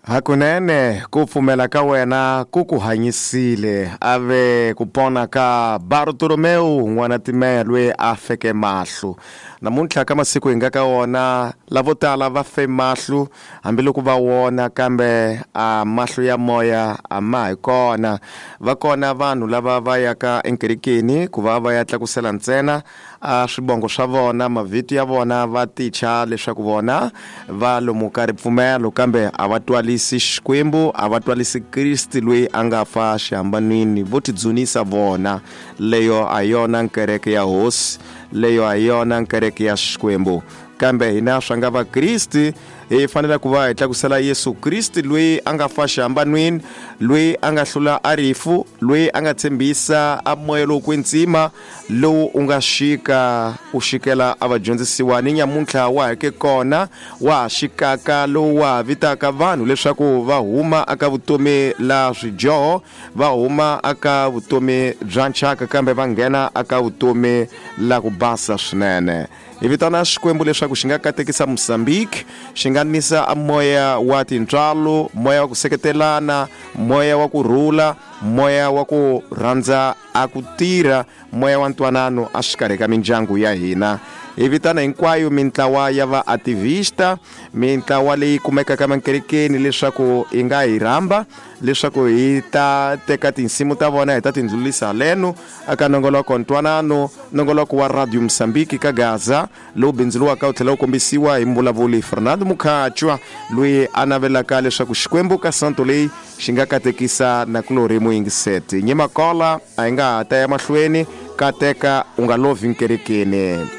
Hakunene ku pfumela ka wena ku ku hanyisile, a ve ku pona ka Bartolomewu n'wana Timeya loyi a feke mahlo. Namuntlha ka masiku hi nga ka wona, lavo tala va fe mahlo hambiloko va wona, kambe a mahlo ya moya a ma hi kona. Va kona vanhu lava va yaka enkerekeni ku va va ya tlakusela ntsena a swibongo swa vona, mavito ya vona, va ticha leswaku vona va lomu ka ripfumelo, kambe a va twalisi Xikwembu, a va twalisi Kriste loyi a nga fa xihambanwini, vo tidzunisa vona. Leyo a yona nkereke ya Hosi, leyo a yona nkereke ya Xikwembu. Kambe hina swa nga Vakriste hi fanele ku va hi tlakusela Yesu Kriste loyi a nga fa xihambanwini, loyi a nga hlula a rifu, loyi a nga tshembisa a moya lowo kwetsima lowu u nga xika u xikela a vadyondzisiwa ni nyamuntlha wa ha ke kona, wa ha xikaka, lowu wa ha vitaka vanhu leswaku va huma aka vutomi la swidyoho, va huma aka vutomi bya nchaka, kambe va nghena aka vutomi la ku basa swinene. Hi vitana Xikwembu leswaku xi nga katekisa Mozambique, xi nga nisa a moya wa tintswalo, moya wa ku seketelana, moya wa ku rhula, moya wa ku rhandza a ku tirha, moya wa ntwanano a xikarhi ka mindyangu ya hina. Hi vitana hinkwayo mintlawa ya vaativista, mintlawa leyi kumekaka emankerekeni leswaku yi nga hi rhamba leswaku hi ta teka tinsimu ta vona hi ta tindlulisa haleno aka nongoloko ntwanano, nongoloko wa Radio Mozambique ka Gaza, lowu bindzuriwaka wu tlhela wu kombisiwa hi mvulavuli Fernando Mukhachwa, loyi a navelaka leswaku Xikwembu ka santo leyi xi nga katekisa nakulorhi muyingiseti. Nyimakola a yi nga ha ta ya mahlweni, kateka u nga lovhi nkerekeni.